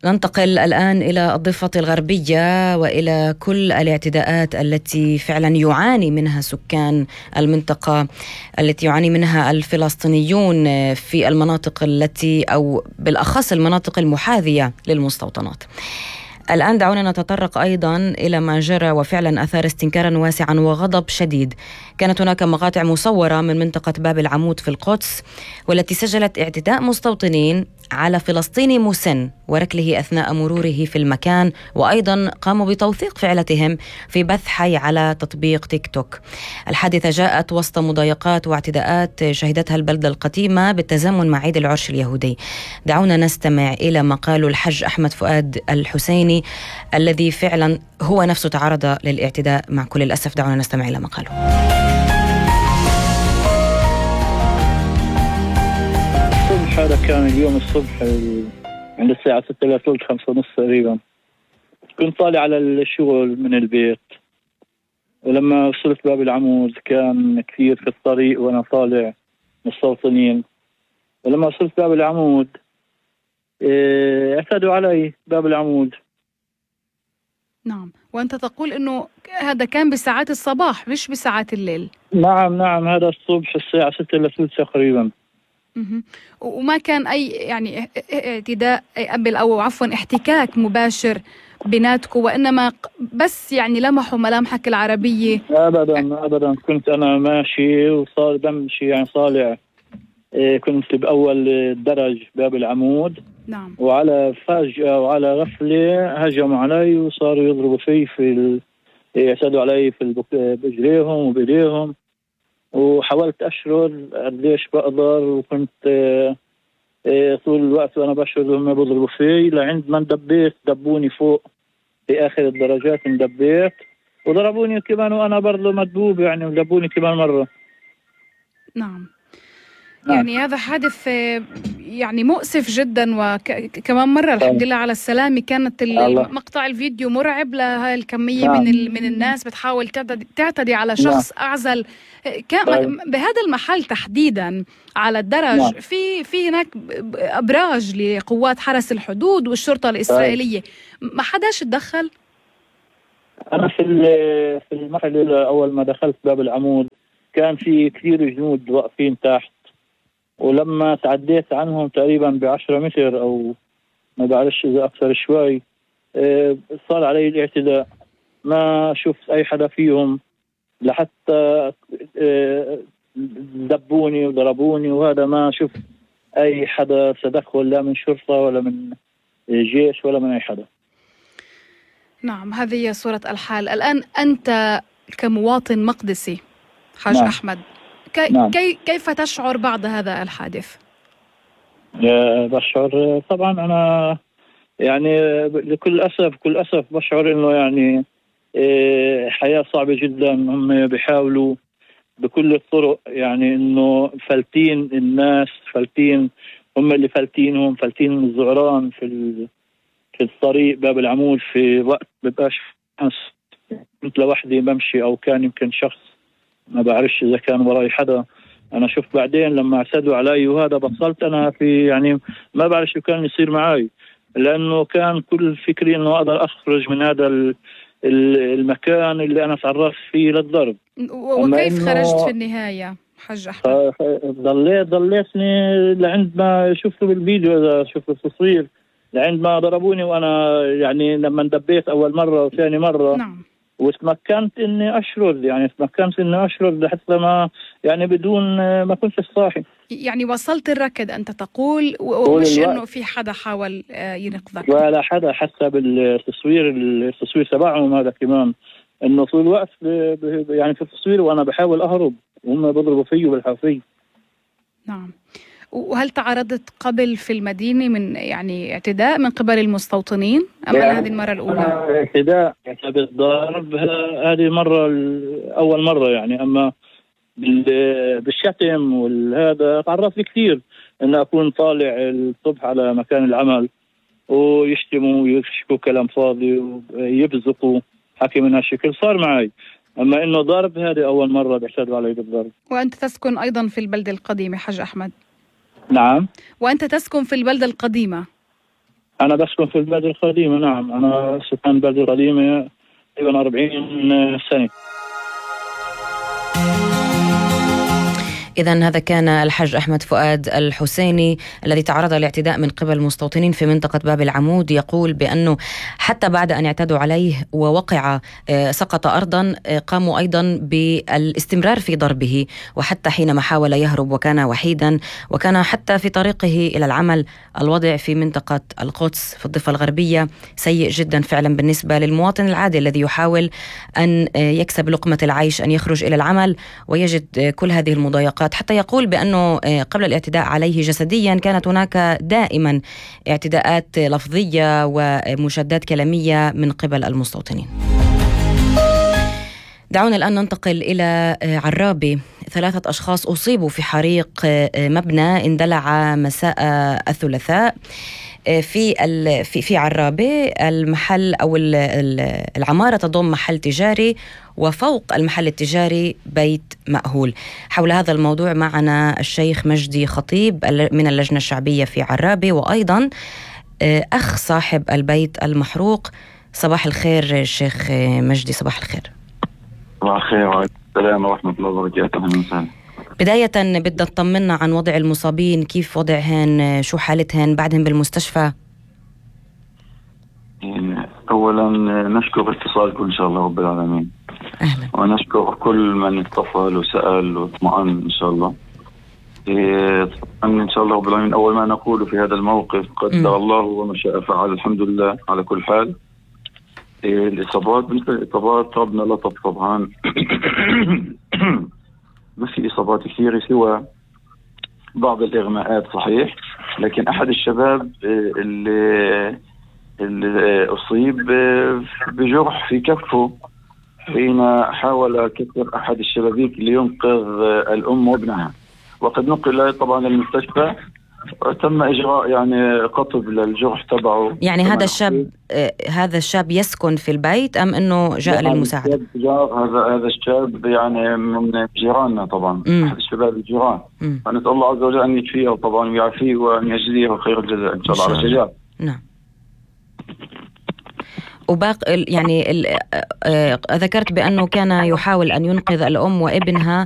ننتقل الآن إلى الضفة الغربية وإلى كل الاعتداءات التي فعلا يعاني منها سكان المنطقة، التي يعاني منها الفلسطينيون في المناطق التي أو بالأخص المناطق المحاذية للمستوطنات. الآن دعونا نتطرق أيضا إلى ما جرى وفعلا أثار استنكارا واسعا وغضب شديد. كانت هناك مقاطع مصورة من منطقة باب العمود في القدس والتي سجلت اعتداء مستوطنين على فلسطيني مسن وركله أثناء مروره في المكان، وأيضا قاموا بتوثيق فعلتهم في بث حي على تطبيق تيك توك. الحادثة جاءت وسط مضايقات واعتداءات شهدتها البلدة القديمة بالتزامن مع عيد العرش اليهودي. دعونا نستمع إلى ما قاله الحج أحمد فؤاد الحسيني الذي فعلا هو نفسه تعرض للاعتداء مع كل الأسف. دعونا نستمع إلى ما قاله. هذا كان اليوم الصبح عند الساعة 6:45 5:30 تقريبا. كنت طالع على الشغل من البيت، ولما وصلت باب العمود كان كثير في الطريق وأنا طالع مستوطنين. ولما وصلت باب العمود اعتدوا علي باب العمود. نعم، وأنت تقول أنه هذا كان بساعات الصباح مش بساعات الليل. نعم هذا الصبح الساعة 6:03 تقريبا. وما كان أي يعني اعتداء أو عفوا احتكاك مباشر بيناتكم، وإنما بس يعني لمحوا ملامحك العربية؟ أبدا كنت أنا ماشي وصار بمشي يعني طالع، كنت بأول الدرج باب العمود. نعم. وعلى فجأة وعلى غفلة هجموا علي وصاروا يضربوا في يعتدوا علي برجليهم وبإيديهم، وحاولت أشرد قديش بقدر، وكنت طول الوقت وأنا بشرد وهم بيضربوا في لعند ما اندبيت دبوني فوق في آخر الدرجات، اندبيت وضربوني كمان وأنا برضه مدبوب يعني، ودبوني كمان مرة. نعم. يعني هذا حادث يعني مؤسف جدا، وكمان مرة الحمد لله على السلامة. كانت مقطع الفيديو مرعب لهاي الكمية من الناس بتحاول تعتدي على شخص أعزل. كان بهذا المحل تحديدا على الدرج في هناك أبراج لقوات حرس الحدود والشرطة الإسرائيلية، ما حداش تدخل؟ أنا في المحل أول ما دخلت باب العمود كان في كثير جنود واقفين تحت، ولما تعديت عنهم تقريبا ب10 متر أو ما بعرفش إذا أكثر شوي صار علي الاعتداء. ما شفت أي حدا فيهم لحتى دبوني وضربوني، وهذا ما شفت أي حدا تدخل لا من شرطة ولا من جيش ولا من أي حدا. نعم، هذه هي صورة الحال الآن. أنت كمواطن مقدسي حاج أحمد، كيف تشعر بعد هذا الحادث؟ بشعر طبعا أنا يعني كل أسف بشعر إنه يعني حياة صعبة جدا. هم بيحاولوا بكل الطرق يعني إنه فلتين الناس، هم اللي فلتين الزعران في الطريق باب العمود في وقت ببقاش كنت لوحدي بمشي أو كان يمكن شخص ما بعرفش إذا كان وراي حدا. أنا شفت بعدين لما اعتدوا علي وهذا بطلت أنا في يعني ما بعرف شو كان يصير معي، لأنه كان كل فكري إنه أقدر أخرج من هذا المكان اللي أنا تعرضت فيه للضرب. وكيف خرجت في النهاية حاج أحمد؟ ضليتني لعند ما شفته بالفيديو، إذا شفت التصوير لعند ما ضربوني، وأنا يعني لما اندبيت أول مرة وثاني مرة. نعم. وتمكنت اني اشرد لحتى ما يعني بدون ما كنت صاحي. يعني وصلت الركض انت تقول، ومش انه في حدا حاول ينقذك؟ ولا حدا، حتى بالتصوير تبعهم هذا كمان انه طول الوقت يعني في التصوير وانا بحاول اهرب وهم بيضربوا فيه بالحافية. نعم. وهل تعرضت قبل في المدينة من يعني اعتداء من قبل المستوطنين أم هذه المرة الأولى؟ اعتداء بالضرب هذه أول مرة يعني، أما بالشتم والهذا تعرضت كثير أن أكون طالع الصبح على مكان العمل ويشتموا ويشكوا كلام فاضي ويبزقوا حكي من هالشكل صار معي، أما إنه ضرب هذه أول مرة بيعتدوا علي بالضرب. وأنت تسكن أيضا في البلدة القديمة حاج أحمد؟ نعم. وأنت تسكن في البلدة القديمة؟ أنا بسكن في البلد القديمة. نعم، أنا سكان البلد القديمة تقريبا 40 سنة. إذن هذا كان الحاج أحمد فؤاد الحسيني الذي تعرض لاعتداء من قبل مستوطنين في منطقة باب العمود. يقول بأنه حتى بعد أن اعتدوا عليه ووقع سقط أرضا قاموا أيضا بالاستمرار في ضربه، وحتى حينما حاول يهرب وكان وحيدا، وكان حتى في طريقه إلى العمل. الوضع في منطقة القدس في الضفة الغربية سيء جدا فعلا بالنسبة للمواطن العادي الذي يحاول أن يكسب لقمة العيش، أن يخرج إلى العمل ويجد كل هذه المضايقات. حتى يقول بأنه قبل الاعتداء عليه جسديا كانت هناك دائما اعتداءات لفظية ومشادات كلامية من قبل المستوطنين. دعونا الآن ننتقل إلى عرابي. 3 أشخاص أصيبوا في حريق مبنى اندلع مساء الثلاثاء في عرابي. المحل أو العمارة تضم محل تجاري، وفوق المحل التجاري بيت مأهول. حول هذا الموضوع معنا الشيخ مجدي خطيب من اللجنة الشعبية في عرابي، وأيضا أخ صاحب البيت المحروق. صباح الخير شيخ مجدي. صباح الخير. صباح الخير وعليكم السلام ورحمة الله وبركاته. بداية بدنا نطمنا عن وضع المصابين، كيف وضعهن، شو حالتهن بعدهم بالمستشفى؟ أولا نشكر اتصالكم إن شاء الله رب العالمين. أهلا. ونشكر كل من اتصل وسأل واطمئن إن شاء الله. إن شاء الله رب العالمين أول ما نقول في هذا الموقف قدر الله وما شاء فعل، الحمد لله على كل حال. الإصابات مثل الإصابات ربنا لطف طبعا. ما في إصابات كثيرة سوى بعض الإغماءات صحيح، لكن أحد الشباب اللي أصيب بجرح في كفه حين حاول كسر أحد الشبابيك لينقذ الأم وابنها، وقد نقل طبعا للمستشفى وتم إجراء يعني قطب للجرح تبعه. يعني هذا الشاب يسكن في البيت أم أنه جاء للمساعدة؟ هذا الشاب يعني من جيراننا طبعا. أحد الشباب الجيران. فنسأل الله عز وجل أن يشفيه طبعا ويعافيه وأن يجزيه خير الجزاء إن شاء الله على شجاع. نعم. وباقي يعني ذكرت بأنه كان يحاول أن ينقذ الأم وابنها